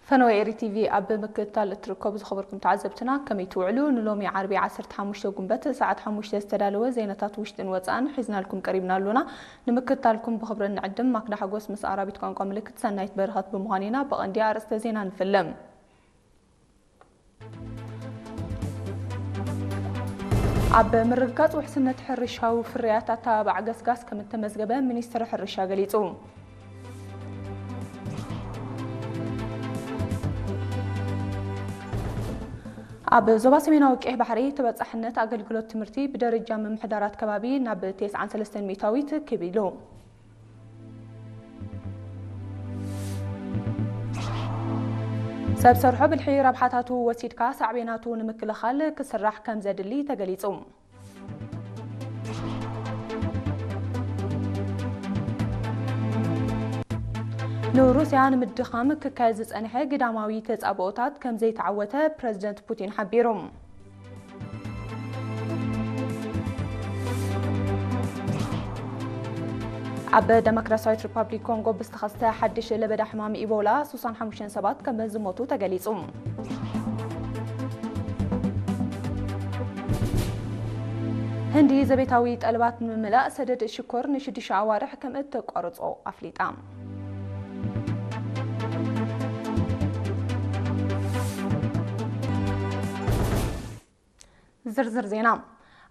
ፈነወ ኤሪ ቲቪ ኣብ ምክትታል እትርከቡ ዝኸበርኩም ተዓዘብትና፣ ከመይ ትውዕሉ? ንሎሚ ዓርቢ ዓሰርተ ሓሙሽተ ጉንበት ሰዓት ሓሙሽተ ዝተዳለወ ዜናታት ውሽጥን ወጻእን ሒዝናልኩም ቀሪብና ኣሎና። ንምክትታልኩም ብኽብሪ እንዕድም። ማክዳ ሓጎስ ምስ ኣራቢት ቋንቋ ምልክት፣ ሰናይት በረኸት ብምዃን ኢና። ብቐንዲ ኣርእስተ ዜና ንፍለም። ኣብ ምርግጋጽ ውሕስነት ሕርሻዊ ፍርያት ኣተባባዕ ገስጋስ ከም እተመዝገበ ሚኒስትሪ ሕርሻ ገሊጹ። ኣብ ዞባ ሰሜናዊ ቀይሕ ባሕሪ ተበጻሕነት ኣገልግሎት ትምህርቲ ብደረጃ ምምሕዳራት ከባቢ ናብ ተስዓን ሰለስተን ሚእታዊት ክብ ኢሉ። ሰብ ሰርሖ ብልሒ ረብሓታቱ ወሲድካ ሳዕቤናቱ ንምክልኻል ክስራሕ ከም ዘድሊ ተገሊጹ። ንሩስያ ንምድኻም ክካየድ ዝጸንሐ ግዳማዊ ተጻብኦታት ከም ዘይተዓወተ ፕረዚደንት ፑቲን ሓቢሩ። ኣብ ደሞክራሲያዊት ሪፓብሊክ ኮንጎ ብዝተኸስተ ሓድሽ ለበዳ ሕማም ኢቦላ ሱሳን ሓሙሽተን ሰባት ከም ዝሞቱ ተገሊጹ። ህንዲ ዘቤታዊ ጠለባት ንምምላእ ሰደድ ሽኮር ንሽዱሽተ ኣዋርሕ ከም እተቋርጾ ኣፍሊጣ። ዝርዝር ዜና።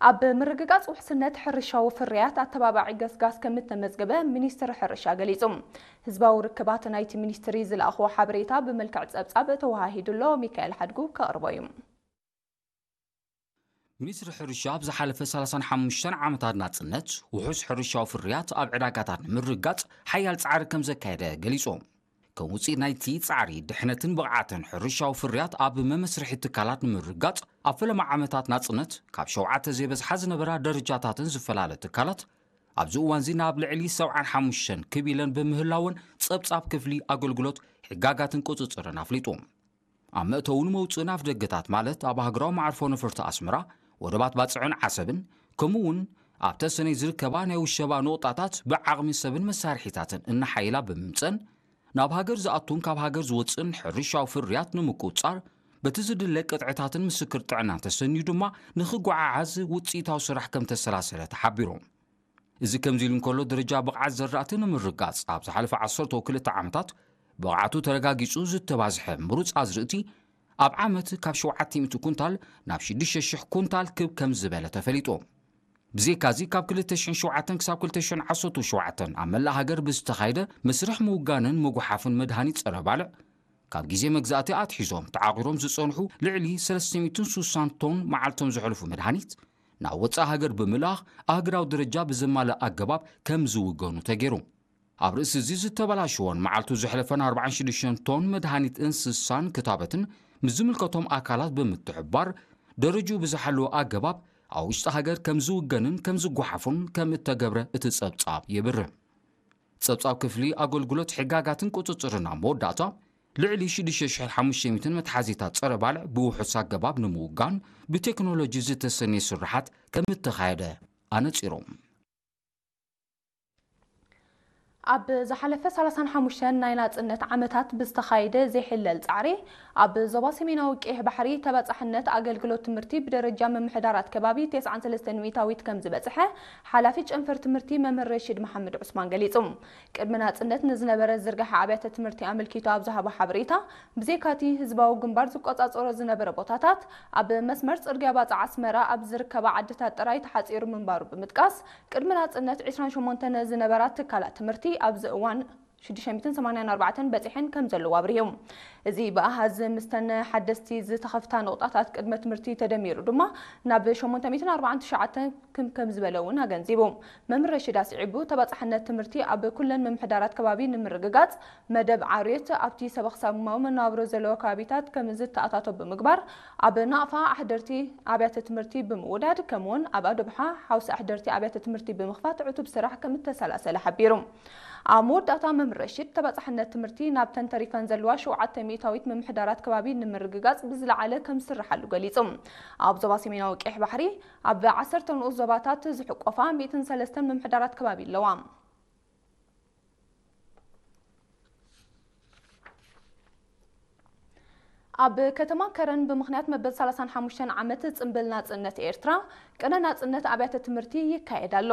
ኣብ ምርግጋጽ ውሕስነት ሕርሻዊ ፍርያት ኣተባባዒ ገስጋስ ከም እተመዝገበ ሚኒስትሪ ሕርሻ ገሊጹ። ህዝባዊ ርክባት ናይቲ ሚኒስትሪ ዝለኣኽዎ ሓበሬታ ብመልክዕ ጸብጻብ ተወሃሂዱ ኣሎ። ሚካኤል ሓድጉ ከቕርቦ እዩ። ሚኒስትሪ ሕርሻ ኣብ ዝሓለፈ ሰላሳን ሓሙሽተን ዓመታት ናጽነት ውሑስ ሕርሻዊ ፍርያት ኣብ ዕዳጋታት ንምርጋጽ ሓያል ጻዕሪ ከም ዘካየደ ገሊጹ። ከም ውጽኢት ናይቲ ጻዕሪ፣ ድሕነትን ብቕዓትን ሕርሻዊ ፍርያት ኣብ መመስርሒ ትካላት ንምርጋጽ፣ ኣብ ፈለማ ዓመታት ናጽነት ካብ ሸውዓተ ዘይበዝሓ ዝነበራ ደረጃታትን ዝፈላለ ትካላት፣ ኣብዚ እዋንዚ ናብ ልዕሊ ሰብዓን ሓሙሽተን ክብ ኢለን ብምህላወን፣ ጸብጻብ ክፍሊ ኣገልግሎት ሕጋጋትን ቁጽጽርን ኣፍሊጡ። ኣብ መእተውን መውጽእን ኣፍደገታት፣ ማለት ኣብ ሃገራዊ መዓርፎ ነፈርቲ ኣስመራ፣ ወደባት ባጽዕን ዓሰብን፣ ከምኡ እውን ኣብ ተሰነይ ዝርከባ ናይ ውሸባ ነቑጣታት ብዓቕሚ ሰብን መሳርሒታትን እናሓየላ ብምምጸን፣ ናብ ሃገር ዝኣቱን ካብ ሃገር ዝወጽእን ሕርሻዊ ፍርያት ንምቁጽጻር፣ በቲ ዝድለ ቅጥዕታትን ምስክር ጥዕናን ተሰንዩ ድማ ንኽጓዓዓዝ ውጽኢታዊ ስራሕ ከም ተሰላሰለ ተሓቢሩ። እዚ ከምዚ ኢሉ እንከሎ፣ ደረጃ ብቕዓት ዘራእቲ ንምርጋጽ ኣብ ዝሓለፈ ዓሰርተ ክልተ ዓመታት ብቕዓቱ ተረጋጊጹ ዝተባዝሐ ምሩጽ ኣዝርእቲ ኣብ ዓመት ካብ ሸውዓተ ሚእቲ ኩንታል ናብ ሽዱሽተ ሽሕ ኩንታል ክብ ከም ዝበለ ተፈሊጡ። ብዘይካዚ፣ ካብ ክልተ ሽሕን ሸውዓተን ክሳብ ክልተ ሽሕን ዓሰርተ ሸውዓተን ኣብ መላእ ሃገር ብዝተኻየደ መስርሕ ምውጋንን ምጉሓፍን መድሃኒት ጸረ ባልዕ፣ ካብ ግዜ መግዛእቲ ኣትሒዞም ተዓቒሮም ዝጸንሑ ልዕሊ ሰለስተ ሚእትን ሱሳን ቶን መዓልቶም ዘሕልፉ መድሃኒት ናብ ወጻኢ ሃገር ብምልኣኽ፣ ኣህጉራዊ ደረጃ ብዘማልእ ኣገባብ ከም ዝውገኑ ተገይሩ። ኣብ ርእሲ እዚ፣ ዝተበላሸወን መዓልቱ ዘሕለፈን ኣርባዓን ሽዱሽተን ቶን መድሃኒት እንስሳን ክታበትን ምስ ዝምልከቶም ኣካላት ብምትሕብባር፣ ደረጅኡ ብዝሓለወ ኣገባብ ኣብ ውሽጢ ሃገር ከም ዝውገንን ከም ዝጓሓፉን ከም እተገብረ እቲ ጸብጻብ የብርህ። ጸብጻብ ክፍሊ ኣገልግሎት ሕጋጋትን ቁጽጽርን ኣብ መወዳእታ፣ ልዕሊ ሽዱሽተ ሽሕን ሓሙሽተ ሚእትን መትሓዚታት ጸረ ባልዕ ብውሑስ ኣገባብ ንምውጋን ብቴክኖሎጂ ዝተሰነየ ስርሓት ከም እተኻየደ ኣነጺሩ። ኣብ ዝሓለፈ ሰላሳን ሓሙሽተን ናይ ናጽነት ዓመታት ብዝተኻየደ ዘይሕለል ጻዕሪ፣ ኣብ ዞባ ሰሜናዊ ቀይሕ ባሕሪ ተበጻሕነት ኣገልግሎት ትምህርቲ ብደረጃ ምምሕዳራት ከባቢ ተስዓን ሰለስተን ሚእታዊት ከም ዝበጽሐ ሓላፊ ጨንፈር ትምህርቲ መምህር ረሺድ መሓመድ ዑስማን ገሊጹ። ቅድሚ ናጽነት ንዝነበረ ዝርጋሐ ኣብያተ ትምህርቲ ኣመልኪቱ ኣብ ዝሃቦ ሓበሬታ፣ ብዘይካቲ ህዝባዊ ግንባር ዝቆጻጸሮ ዝነበረ ቦታታት፣ ኣብ መስመር ጽርግያ ባጽዕ ኣስመራ ኣብ ዝርከባ ዓድታት ጥራይ ተሓጺሩ ምንባሩ ብምጥቃስ፣ ቅድሚ ናጽነት ዒስራን ሸሞንተን ዝነበራ ትካላት ትምህርቲ ኣብዚ እዋን ሽዱሽተ ሚእትን ሰማንያን ኣርባዕተን በጺሐን ከም ዘለዋ ኣብሪሁ። እዚ ብኣሃዝ ምስተን ሓደስቲ ዝተኸፍታ ንቑጣታት ቅድመ ትምህርቲ ተደሚሩ ድማ ናብ ሸሞንተ ሚእትን ኣርባዓን ትሽዓተን ክም ከም ዝበለ እውን ኣገንዚቡ። መምህር ረሺድ ኣስዒቡ፣ ተባጻሕነት ትምህርቲ ኣብ ኩለን ምምሕዳራት ከባቢ ንምርግጋጽ፣ መደብ ዓርዮት ኣብቲ ሰበኽሳማዊ መነባብሮ ዘለዎ ከባቢታት ከም ዝተኣታቶ ብምግባር፣ ኣብ ናቕፋ ኣሕደርቲ ኣብያተ ትምህርቲ ብምውዳድ፣ ከምኡውን ኣብ ኣዶብሓ ሓውሲ ኣሕደርቲ ኣብያተ ትምህርቲ ብምኽፋት ዕቱብ ስራሕ ከም እተሰላሰለ ሓቢሩ። ኣብ መወዳእታ መምህር ረሺድ፣ ተባጻሕነት ትምህርቲ ናብተን ተሪፈን ዘለዋ ሸውዓተ ሚእታዊት ምምሕዳራት ከባቢ ንምርግጋጽ ብዝለዓለ ከም ዝስርሓሉ ገሊጹ። ኣብ ዞባ ሰሜናዊ ቀይሕ ባሕሪ፣ ኣብ ዓሰርተ ንኡስ ዞባታት ዝሕቆፋ ሚእትን ሰለስተን ምምሕዳራት ከባቢ ኣለዋ። ኣብ ከተማ ከረን ብምኽንያት መበል ሰላሳን ሓሙሽተን ዓመት ጽምብል ናጽነት ኤርትራ ቅነ ናጽነት ኣብያተ ትምህርቲ ይካየድ ኣሎ።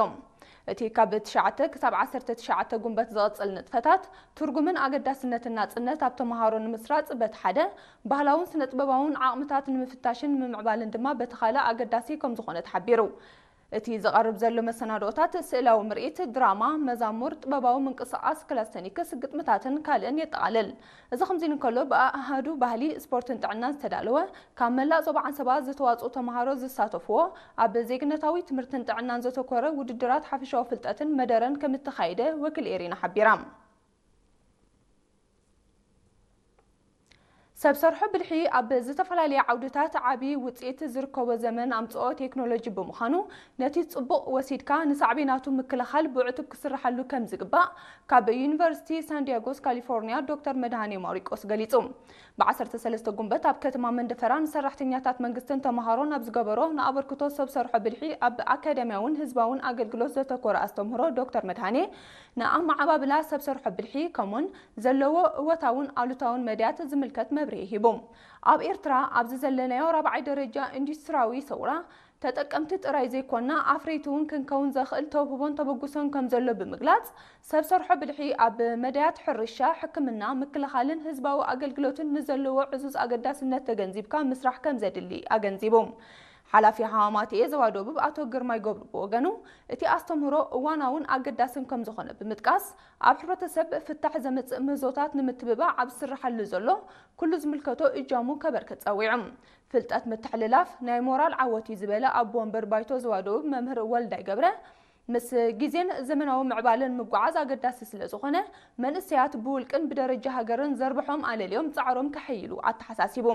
እቲ ካብ ትሽዓተ ክሳብ ዓሰርተ ትሽዓተ ጉንበት ዝቕጽል ንጥፈታት ትርጉምን ኣገዳስነትን ናጽነት ኣብ ተመሃሮ ንምስራጽ በቲ ሓደ፣ ባህላውን ስነ-ጥበባውን ዓቕምታት ንምፍታሽን ንምምዕባልን ድማ በቲ ካልእ ኣገዳሲ ከም ዝኾነ ተሓቢሩ። እቲ ዝቐርብ ዘሎ መሰናድኦታት ስእላዊ ምርኢት፣ ድራማ፣ መዛሙር፣ ጥበባዊ ምንቅስቓስ፣ ክላስተኒክስ፣ ግጥምታትን ካልእን የጠቓልል። እዚ ከምዚ እንከሎ፣ ብኣሃዱ ባህሊ፣ ስፖርትን ጥዕናን ዝተዳለወ፣ ካብ መላእ ዞባ ዓንሰባ ዝተዋጽኡ ተመሃሮ ዝሳተፍዎ፣ ኣብ ዜግነታዊ ትምህርትን ጥዕናን ዘተኮረ ውድድራት ሓፈሻዊ ፍልጠትን መደረን ከም እተኻየደ ወኪል ኤሪና ሓቢራ። ሰብ ሰርሖ ብልሒ ኣብ ዝተፈላለየ ዓውድታት ዓቢ ውጽኢት ዝርከቦ ዘመን ኣምጽኦ ቴክኖሎጂ ብምዃኑ፣ ነቲ ጽቡቕ ወሲድካ ንሳዕቤናቱ ምክልኻል ብዕቱብ ክስርሓሉ ከም ዝግባእ ካብ ዩኒቨርሲቲ ሳንዲያጎስ ካሊፎርኒያ ዶክተር መድሃኔ ማሪቆስ ገሊጹ። ብ ዓሰርተ ሰለስተ ጉንበት ኣብ ከተማ መንደፈራ ንሰራሕተኛታት መንግስትን ተመሃሮን ኣብ ዝገበሮ ንኣበርክቶ ሰብ ሰርሖ ብልሒ ኣብ ኣካዳሚያውን ህዝባውን ኣገልግሎት ዘተኮረ ኣስተምህሮ ዶክተር መድሃኔ፣ ንኣመዓባብላ ሰብ ሰርሖ ብልሒ ከምኡውን ዘለዎ እወታውን ኣሉታውን መድያት ዝምልከት መብርሂ ሂቡ። ኣብ ኤርትራ ኣብዚ ዘለናዮ ራብዓይ ደረጃ ኢንዱስትሪያዊ ሰውራ ተጠቀምቲ ጥራይ ዘይኮና ኣፍረይቲ እውን ክንከውን ዘኽእል ተውህቦን ተበግሶን ከም ዘሎ ብምግላጽ፣ ሰብ ሰርሖ ብልሒ ኣብ መድያት ሕርሻ፣ ሕክምና፣ ምክልኻልን ህዝባዊ ኣገልግሎትን ንዘለዎ ዕዙዝ ኣገዳስነት ተገንዚብካ ምስራሕ ከም ዘድሊ ኣገንዚቡ። ሓላፊ ሃማማትኤ ዞባ ደቡብ ኣቶ ግርማይ ገብሩ ብወገኑ፣ እቲ ኣስተምህሮ እዋናውን ኣገዳስን ከም ዝኾነ ብምጥቃስ፣ ኣብ ሕብረተሰብ ፍታሕ ዘምጽእ ምህዞታት ንምትብባዕ ኣብ ዝስርሓሉ ዘሎ ኩሉ ዝምልከቶ እጃሙ ከበርክት ጸዊዑ። ፍልጠት ምትሕልላፍ ናይ ሞራል ዓወት እዩ ዝበለ ኣቦ ወንበር ባይቶ ዞባ ደቡብ መምህር ወልዳይ ገብረ፣ ምስ ግዜን ዘመናዊ ምዕባለን ምጉዓዝ ኣገዳሲ ስለ ዝኾነ፣ መንእሰያት ብውልቅን ብደረጃ ሃገርን ዘርብሖም ኣለልዮም ጻዕሮም ከሐይሉ ኣተሓሳሲቡ።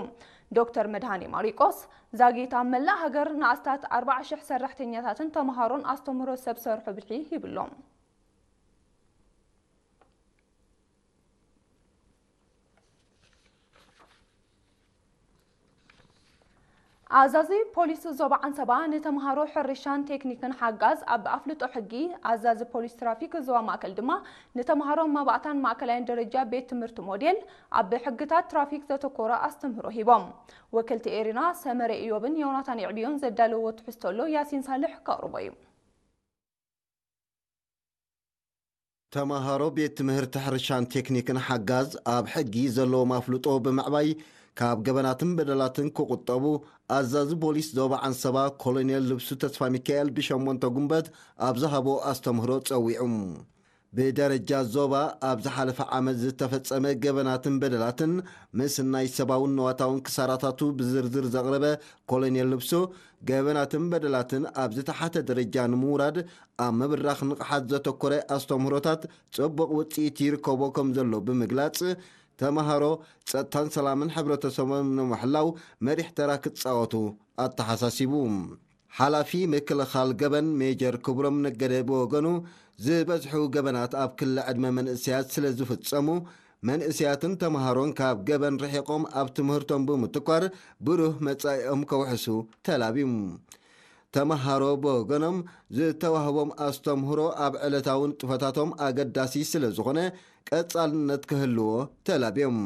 ዶክተር መድሃኔ ማሪቆስ ዛጊት ኣብ መላእ ሃገር ንኣስታት ኣርባዓ ሽሕ ሰራሕተኛታትን ተመሃሮን ኣስተምህሮ ሰብ ሰርሖ ብልሒ ሂብሎም። ኣዛዚ ፖሊስ ዞባ ዓንሰባ ንተምሃሮ ሕርሻን ቴክኒክን ሓጋዝ ኣብ ኣፍልጦ ሕጊ፣ ኣዛዚ ፖሊስ ትራፊክ ዞባ ማእከል ድማ ንተምሃሮ መባእታን ማእከላይን ደረጃ ቤት ትምህርቲ ሞዴል ኣብ ሕግታት ትራፊክ ዘተኮረ ኣስተምህሮ ሂቦም። ወክልቲ ኤሪና ሰመረ ኢዮብን ዮናታን ይዕብዮን ዘዳለዎ ትሕዝቶ ኣሎ፣ ያሲን ሳልሕ ከቕርቦ እዩ። ተምሃሮ ቤት ትምህርቲ ሕርሻን ቴክኒክን ሓጋዝ ኣብ ሕጊ ዘለዎም ኣፍልጦ ብምዕባይ ካብ ገበናትን በደላትን ክቑጠቡ ኣዛዚ ፖሊስ ዞባ ዓንሰባ ኮሎኔል ልብሱ ተስፋሚካኤል ብሸሞንተ ጉንበት ኣብ ዝሃቦ ኣስተምህሮ ጸዊዑ። ብደረጃ ዞባ ኣብ ዝሓለፈ ዓመት ዝተፈጸመ ገበናትን በደላትን ምስናይ ሰብኣውን ንዋታውን ክሳራታቱ ብዝርዝር ዘቕረበ ኮሎኔል ልብሱ፣ ገበናትን በደላትን ኣብ ዝተሓተ ደረጃ ንምውራድ ኣብ ምብራኽ ንቕሓት ዘተኮረ ኣስተምህሮታት ጽቡቕ ውጽኢት ይርከቦ ከም ዘሎ ብምግላጽ፣ ተመሃሮ ጸጥታን ሰላምን ሕብረተሰቦም ንምሕላው መሪሕ ተራ ክጻወቱ ኣተሓሳሲቡ። ሓላፊ ምክልኻል ገበን ሜጀር ክብሮም ነገደ ብወገኑ፣ ዝበዝሑ ገበናት ኣብ ክሊ ዕድመ መንእሰያት ስለ ዝፍጸሙ፣ መንእሰያትን ተመሃሮን ካብ ገበን ርሒቖም ኣብ ትምህርቶም ብምትኳር ብሩህ መጻኢኦም ከውሕሱ ተላብዩ። ተመሃሮ ብወገኖም ዝተዋህቦም ኣስተምህሮ ኣብ ዕለታዊ ንጥፈታቶም ኣገዳሲ ስለ ዝኾነ ቀጻልነት ክህልዎ ተላብዮም።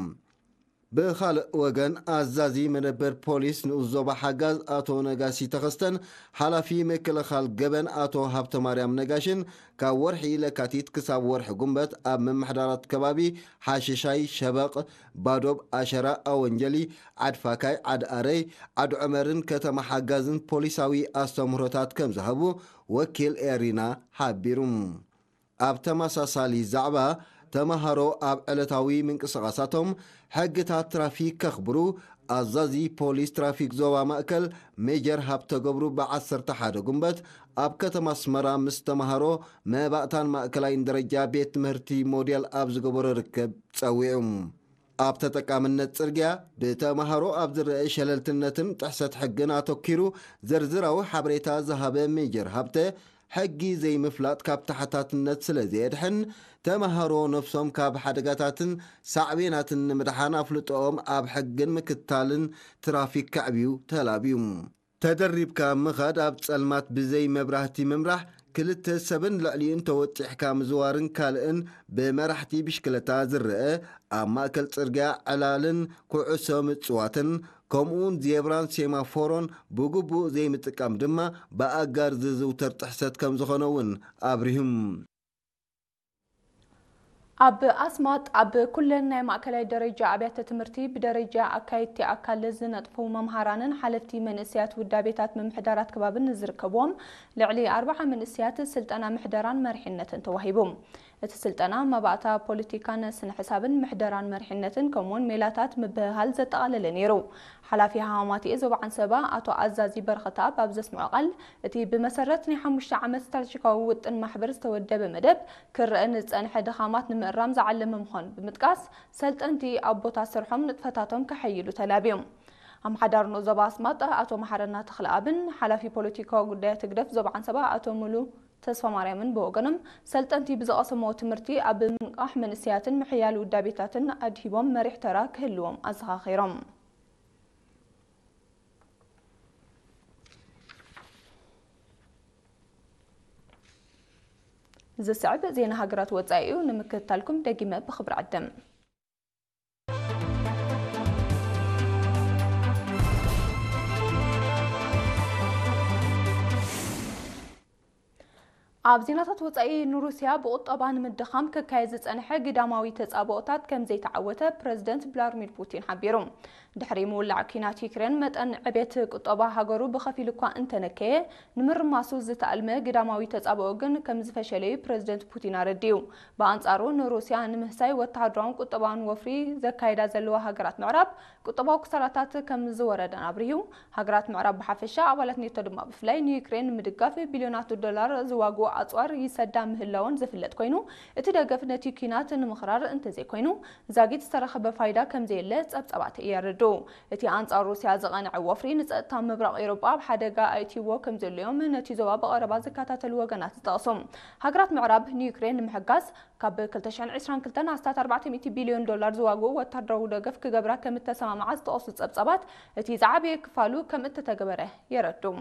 ብኻልእ ወገን ኣዛዚ መደበር ፖሊስ ንኡስ ዞባ ሓጋዝ ኣቶ ነጋሲ ተኸስተን ሓላፊ ምክልኻል ገበን ኣቶ ሃብተማርያም ነጋሽን ካብ ወርሒ ለካቲት ክሳብ ወርሒ ጉንበት ኣብ ምምሕዳራት ከባቢ ሓሽሻይ፣ ሸበቕ፣ ባዶብ፣ ኣሸራ፣ ኣወንጀሊ፣ ዓድፋካይ፣ ዓድኣረይ፣ ዓድዑመርን ከተማ ሓጋዝን ፖሊሳዊ ኣስተምህሮታት ከም ዝሃቡ ወኪል ኤሪና ሓቢሩ። ኣብ ተመሳሳሊ ዛዕባ፣ ተመሃሮ ኣብ ዕለታዊ ምንቅስቓሳቶም ሕግታት ትራፊክ ከኽብሩ ኣዛዚ ፖሊስ ትራፊክ ዞባ ማእከል ሜጀር ሃብተገብሩ ብ ዓሰርተ ሓደ ጉንበት ኣብ ከተማ ኣስመራ ምስ ተመሃሮ መባእታን ማእከላይን ደረጃ ቤት ትምህርቲ ሞዴል ኣብ ዝገበሮ ርክብ ጸዊዑ። ኣብ ተጠቃምነት ጽርግያ ብተመሃሮ ኣብ ዝረአ ሸለልትነትን ጥሕሰት ሕግን ኣተኲሩ ዝርዝራዊ ሓበሬታ ዝሃበ ሜጀር ሃብተ፣ ሕጊ ዘይምፍላጥ ካብ ተሓታትነት ስለ ዘየድሕን፣ ተመሃሮ ነፍሶም ካብ ሓደጋታትን ሳዕቤናትን ንምድሓን ኣፍልጦኦም ኣብ ሕግን ምክትታልን ትራፊክ ከዕብዩ ተላብዩ። ተደሪብካ ምኻድ ኣብ ጸልማት ብዘይ መብራህቲ ምምራሕ ክልተ ሰብን ልዕሊኡን ተወጢሕካ ምዝዋርን ካልእን ብመራሕቲ ብሽክለታ ዝረአ፣ ኣብ ማእከል ጽርግያ ዕላልን ኩዕሶ ምጽዋትን፣ ከምኡውን ዜብራን ሴማፎሮን ብግቡእ ዘይምጥቃም ድማ ብኣጋር ዝዝውተር ጥሕሰት ከም ዝኾነ እውን ኣብሪሁም። ኣብ ኣስማጥ ኣብ ኩለን ናይ ማእከላይ ደረጃ ኣብያተ ትምህርቲ ብደረጃ ኣካየድቲ ኣካል ዝነጥፉ መምሃራንን ሓለፍቲ መንእሰያት ውዳቤታት ምምሕዳራት ከባብን ዝርከብዎም ልዕሊ ኣርባዓ መንእሰያት ስልጠና ምሕደራን መሪሕነትን ተዋሂቡ። እቲ ስልጠና መባእታ ፖለቲካን ስነ ሕሳብን ምሕደራን መሪሕነትን ከምኡውን ሜላታት ምብህሃል ዘጠቓለለ ነይሩ። ሓላፊ ሃማማትኤ ዞባ ዓንሰባ ኣቶ ኣዛዚ በረኸተኣብ ኣብ ዘስምዖ ቃል፣ እቲ ብመሰረት ናይ ሓሙሽተ ዓመት ስትራቴጂካዊ ውጥን ማሕበር ዝተወደበ መደብ ክረአ ንዝጸንሐ ድኻማት ንምእራም ዝዓለመ ምዃኑ ብምጥቃስ፣ ሰልጠንቲ ኣብ ቦታ ስርሖም ንጥፈታቶም ከሐይሉ ተላብዮም። ኣምሓዳር ንኡስ ዞባ ኣስማጥ ኣቶ መሓረና ተኽለኣብን ሓላፊ ፖለቲካዊ ጉዳያት ህግደፍ ዞባ ዓንሰባ ኣቶ ሙሉ ተስፋማርያምን ብወገኖም፣ ሰልጠንቲ ብዝቐሰምዎ ትምህርቲ ኣብ ምንቃሕ መንእሰያትን ምሕያል ውዳቤታትን ኣድሂቦም መሪሕ ተራ ክህልዎም ኣዘኻኺሮም። ዝስዕብ ዜና ሃገራት ወጻኢ እዩ፣ ንምክትታልኩም ደጊመ ብኽብሪ ዕድም። ኣብ ዜናታት ወጻኢ፣ ንሩስያ ብቁጠባ ንምድኻም ክካየድ ዝጸንሐ ግዳማዊ ተጻብኦታት ከም ዘይተዓወተ ፕረዚደንት ቭላድሚር ፑቲን ሓቢሩ። ድሕሪ ምውላዕ ኲናት ዩክሬን፣ መጠን ዕቤት ቁጠባ ሃገሩ ብኸፊል እኳ እንተነከየ፣ ንምርማሱ ዝተኣልመ ግዳማዊ ተጻብኦ ግን ከም ዝፈሸለዩ ፕረዚደንት ፑቲን ኣረዲኡ። ብኣንጻሩ፣ ንሩስያ ንምህሳይ ወተሃደራውን ቁጠባውን ወፍሪ ዘካይዳ ዘለዋ ሃገራት ምዕራብ፣ ቁጠባዊ ክሳራታት ከም ዝወረዳን ኣብሪሁ። ሃገራት ምዕራብ ብሓፈሻ፣ ኣባላት ኔቶ ድማ ብፍላይ፣ ንዩክሬን ንምድጋፍ ቢልዮናት ዶላር ዝዋግኡ ኣጽዋር ይሰዳ ምህላወን ዝፍለጥ ኮይኑ፣ እቲ ደገፍ ነቲ ኲናት ንምኽራር እንተዘይኮይኑ፣ ዛጊት ዝተረኸበ ፋይዳ ከም ዘየለ ጸብጻባት የረድኡ። እቲ ኣንጻር ሩስያ ዝቐንዐ ወፍሪ፣ ንጸጥታ ምብራቕ ኤውሮጳ ኣብ ሓደጋ ኣእትይዎ ከም ዘሎዮም ነቲ ዞባ ብቐረባ ዝከታተሉ ወገናት ዝጠቕሱ። ሃገራት ምዕራብ ንዩክሬን ንምሕጋዝ፣ ካብ ክልተ ሽሕን ዕስራን ክልተን ኣስታት ኣርባዕተ ሚእቲ ቢልዮን ዶላር ዝዋግኡ ወታደራዊ ደገፍ ክገብራ ከም እተሰማምዓ ዝጠቐሱ ጸብጻባት፣ እቲ ዝዓበየ ክፋሉ ከም እተተገበረ የረድኡ።